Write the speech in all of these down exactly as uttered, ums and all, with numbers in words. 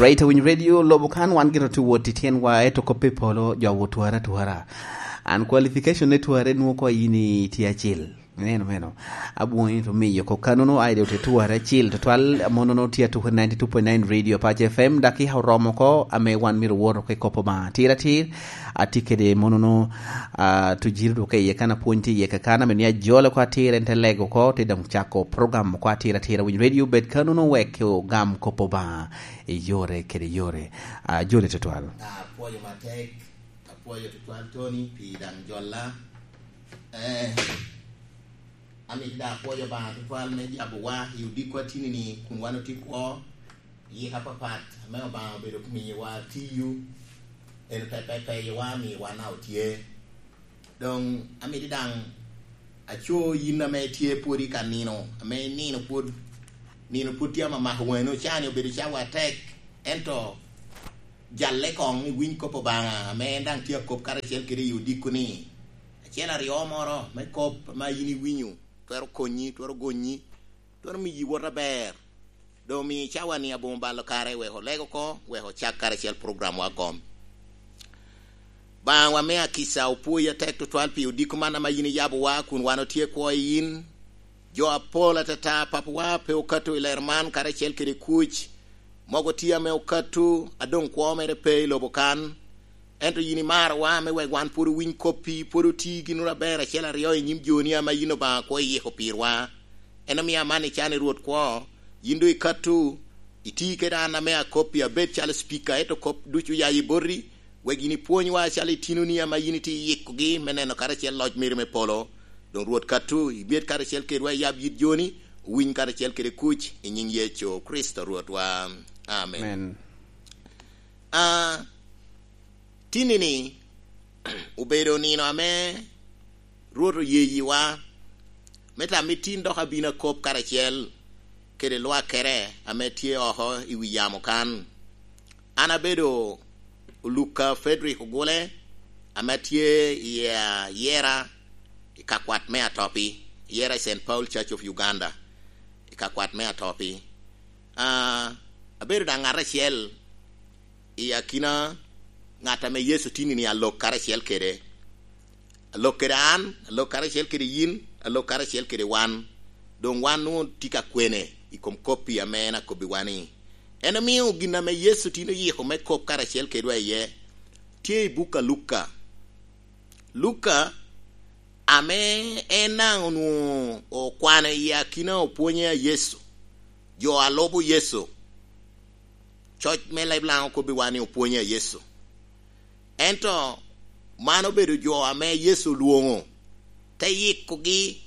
Right, Awiny Radio, lobo kan wan gin otye wot i tyenwa, eto kop i polo, jo wot twara twara. An qualification ne twara nwo ko yin i tye acil. Neno meno. Abwoni to miyo ko kanono aide ote twara acil. Twal monono tye atuko ninety two point nine Radio Pache F M. Daki ha oromo ko, ame wan miro woro ke kopo ba. Tira tir, ati kede monono, ah, tujiri duke iye kana pwony ti iye kakana, meni ajolo ko atira ente lego ko, te dong chako program ko atira tira Winy Radio, bet kanono wek o gam kopo ba. I yore kede yore. Ah, jole tutwal. Apwoyo matek, apwoyo tutwal Tony pi daŋ jolla. Eh, amito daŋ apwoyo Obaŋa tutwal me jabowa i odikwa tini-ni kun wan otye kwo, yika papat ame Obaŋa obedo miyowa tiyo, en pe, pe, peyowa, miyowa na otye. Doŋ amito daŋ aco yin ame tye pwod i ka nino, ame nino pwod, nino pwod tye amamako waŋi, can-ni obedo cawa atek, ento jalle koŋ iwiny kop Obaŋa, ame en daŋ tye akop karacel kede i odiko-ni. Acel aryo moro me kop ame yin iwinyo, twero konyi, twero gonyi, twero miyi wot aber. Doŋ omiyo i cawa-ni aboŋo balo kare wek oleg oko, wek ocak karacel programwa gom. Baŋwa me akica, opwoyi atek tutwal pi odiko man ame yin iyabowa kun wan otye kwo i yin. Jo apol atata, Papawa, pe okato i lero man karacel kede kuc. Mogo tye ame okato, a doŋ kwo mere pe i lobo kan. Ento yin imarowa me wek wan pwod owiny koppi, pwod oti ginwu aber acel aryo i nyim joni ame yin Obaŋa kwo iyiko pirwa. En omio amanni can i Rwot kwo, yin doŋ ikato, iti kede an ame akoppi abed calo cipika, ento kop ducu oya i boti, wek yin ipwonywa acalo itinoni ame yin itye iyikogi me neno karacel loc meri me polo. Doŋ Rwot kato, ibed karacel kedwa, iyab yit joni, owiny karacel kede kuc, i nyiŋ Yecu Kricito Rwotwa. Amen. Amen. Ah, tinni-ni obedo nino ame Rwot oye yiwa, me tam i tin dok abino akop karacel kede lwakere ame tye oko i wi yamo kan. An abedo Oluka Frederick Ogule, ame atye i, ah, Yera, i kakwat me Atopi, Yera i Saint Paul Church of Uganda, i kakwat me Atopi. Ah, abedo daŋ ŋat acel i akina ŋat ame Yecu tinni-ni alok karacel kede. Alok kede an, alok karacel kede yin, alok karacel kede wan. Doŋ wan onwoŋo tye ka kwene i kom koppi ame en akobbiwa-ni. En omio gin ame Yecu tin oyiko me kop karacel kedwa iye, tye i buk a Luka. Luka, ame en daŋ onwoŋo okwano i akina opwonye a Yecu, jo a lubo Yecu, coc me leb Laŋo kobbiwa ni opwonye a Yecu. Ento man obedo jo ame Yecu olwoŋo, te yikogi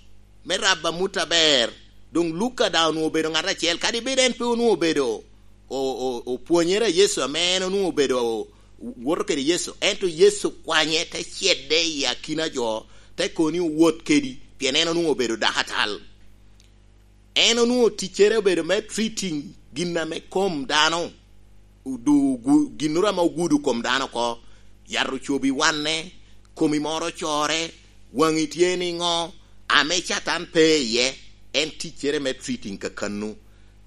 me rabo amut aber. Doŋ Luka daŋ onwoŋo obedo ŋat acel, kadi bed en pe onwoŋo obedo o-, o-, opwonyere a Yecu, ame en onwoŋo obedo o-, woto kede Yecu, ento Yecu kwanye te cedde i akina jo, te koni owot kedi, pien en onwoŋo obedo dakatal. En onwoŋo ticcere obedo me treating gin ame kom dano, odu-, gu-, ginnoro ame ogudo kom dano oko, yat ocobi wanne, komi moro ocore, waŋi tye niŋo, ame Catan pe iye, en ticcere me treating kakannu.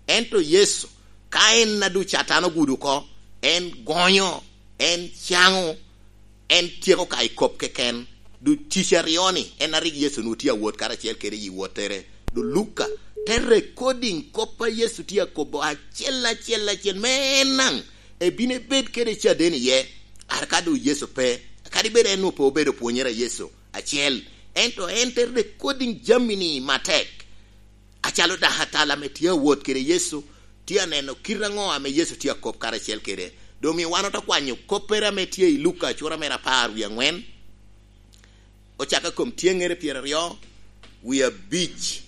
Ento Yecu, ka en a doŋ Catan ogudo oko, en gonyo, en caŋo, en tyeko ka i kop keken. Doŋ tic aryo-ni, en a rik Yecu onwoŋo tye awot karacel kede i wottere. Doŋ Luka te recording kop a Yecu tye akobo acel, acel, acel, me en naŋ ebino ebed kede caden iye, ara ka doŋ Yecu pe. Kadi bed en onwoŋo pe obedo pwonyere a Yecu acel, ento en te recording jami-ni matek. Acalo dakatal ame tye awot kede Yecu, tye aneno kite aŋo ame Yecu tye akop karacel kede. Doŋ omio wan ote kwanyo koppere ame tye i Luka cura mere apar wie aŋwen, ocakke kom tyeŋŋere pyeraryo wie abic,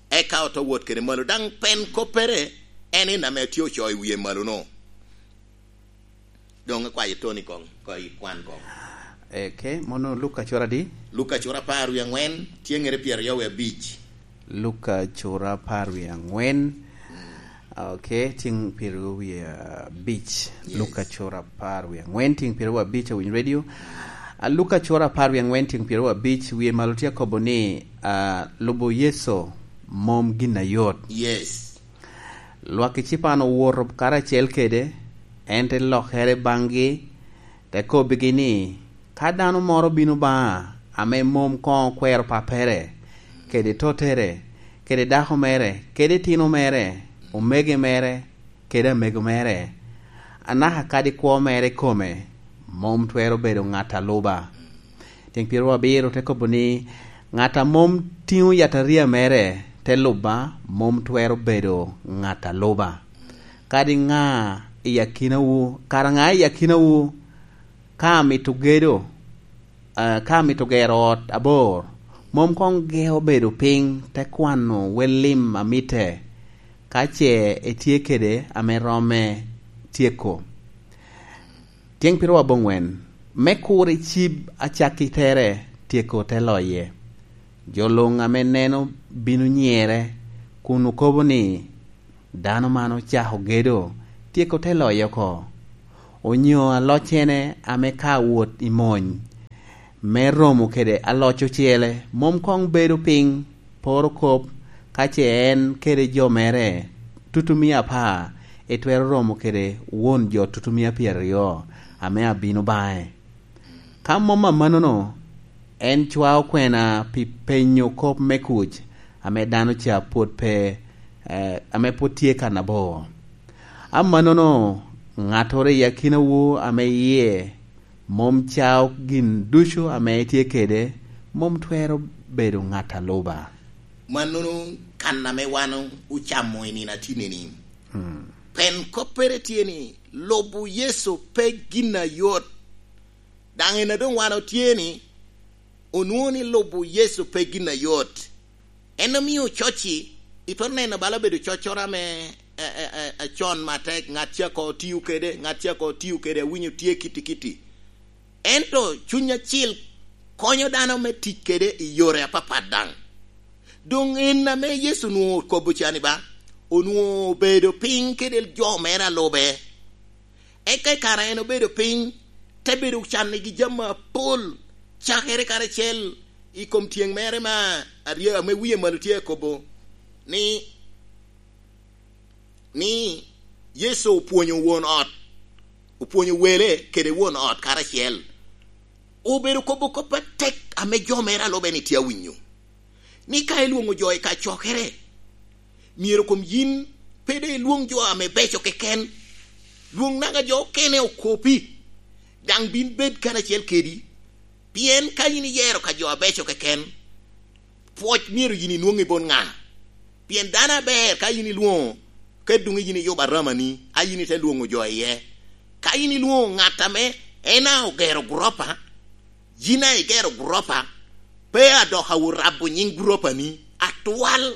eka ote wot kede malo. Daŋ pen koppere en en ame tye ocoo i wie malo-nu. Doŋ ikwayo Tony koŋ, ko ikwan koŋ. Eke, mono Luka cura adi? Luka cura apar wie aŋwen, tyeŋŋere pyeraryo wie abic. Luka cura apar wie aŋwen. Mm. Ok, tyeŋ pyeraryo wie abic. Yes. Luka cura apar wie aŋwen, tyeŋ pyeraryo wie abic, Awiny Radio. A, Luka cura apar wie aŋwen, tyeŋ pyeraryo wie abic, wie malo tye akobo ni, a, lubo Yecu mom gin ayot. Yes. Lwak ecipan owoto karacel kede, En te lokere baŋgi, te kobbigi ni, "Ka dano moro bino baŋa ame mom koŋ okwero pappere, kede tottere, kede dako mere, kede itino mere, omege mere, kede amego mere, anaka kadi kwo mere ikome, mom twero bedo ŋat a luba." Tyeŋ pyeto abiro te kobo ni, "Ŋat a mom tiŋo yataria mere te luba, mom twero bedo ŋat a luba. Kadi ŋa i akinawu, kara ŋa i akinawu, ka amito gedo, eh, ka amito gero ot abor, mom koŋ geo bedo piny te kwano wel lim a mitte, ka ce etye kede ame romme tyeko." Tyeŋ pyeto aboŋwen, me kur icib acakki tere, tyeko te loye. Jo luŋ ame neno bino nyere kun okobo ni, "Dano man ocako gedo, tyeko te loye oko." Onyo aloccene ame ka wot i mony me romo kede aloc ocele, mom koŋ bedo piny, poro kop, ka ce en kede jo mere tutumia apar, etwero romo kede won jo tutumia pyeraryo ame abino baŋe. Ka mom amannono, en cwao kwena pi penyo kop me kuc ame dano ca pwod pe, eh, ame pwod tye kan abor. Amannono, ŋattoro i akinawu ame yie mom cao gin ducu ame etye kede, mom twero bedo ŋat a luba. Mannono kan ame wan ocamo i nino atinni-ni. Hmm. Pen koppere tye ni, lubo Yecu pe gin ayot. Daŋ en a doŋ wan otye ni, onwoŋo ni lubo Yecu pe gin ayot. En omio coc-ci, itwero neno bala obedo coccoro ame, e, e, e, e, con matek, ŋat ca ko tio kede, ŋat ca ko tio kede, awinyo tye kitti kitti. Ento Cuny Acil konyo dano me tic kede i yore apapat daŋ. Doŋ en ame Yecu onwoŋo okobo ca ni ba, onwoŋo obedo piny kede jo mere a lube. Eka i kare en obedo piny, te bedo can nigi jami apol, cakere karacel i kom tyeŋ mere me aryo ame wie malo tye akobo ni, ni Yecu opwonyo won ot, opwonyo wele kede won ot karacel. Obedo kobo kop atek ame jo mere a lube ni tye awinyo, ni ka ilwoŋo jo i kacokere, myero kom yin pe doŋ ilwoŋ jo ame beco keken. Lwoŋ naga jo okene okopi, daŋ bin bed karacel kedi. Pien ka yin iyero ka jo abeco keken, pwoc myero yin inwoŋ i bot ŋa? Pien dano aber ka yin ilwoŋo, ka doŋ yin iyubo aramani, a yin ite lwoŋo jo iye. Ka yin ilwoŋo ŋat ame en a ogero guropa, yin a igero guropa, pe adok awot rabo nyiŋ guropani atwal,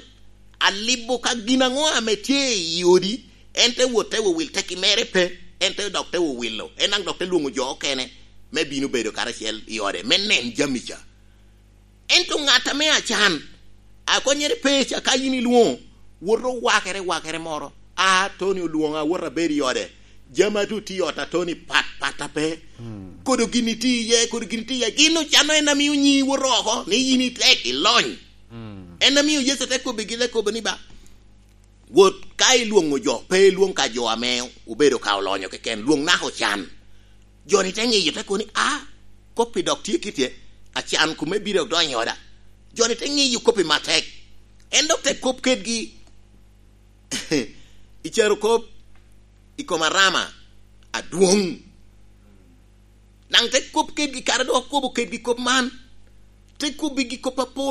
alibo ka gin aŋo ame tye i odi, en te wot te wowil, teki mere pe, en te dok te wowilo, en daŋ dok te lwoŋo jo okene me bino bedo karacel i ode, me nen jami ca. Ento ŋat ame acan, akonyere pe ca, ka yin ilwoŋo, woto wakere, wakere moro, a Tony olwoŋa, awot abedo i ode, jami a doŋ tye i ot a Tony pat, pat a pe. Hmm. Kodo gin itye iye, kodo gin itye iye, gin ocanno en amio nyi woto oko, ni yin itek, ilony. Hmm. En amio Yecu te kobbigi, te kobo ni ba, wot ka ilwoŋo jo, pe ilwoŋ ka jo ame obedo ka olonyo keken, lwoŋ naka ocan. Jo-ni te ŋiyo, te kobo ni, "A, kop-pi dok tye kite, acan kume bino odonyo i oda." Jo-ni te ŋiyo kop-pi matek. En dok te kop kedgi i carokop, i kom arama adwoŋ. Daŋ te kop kedgi, kare dok okobo kedgi kop man, te kobbigi kop apol.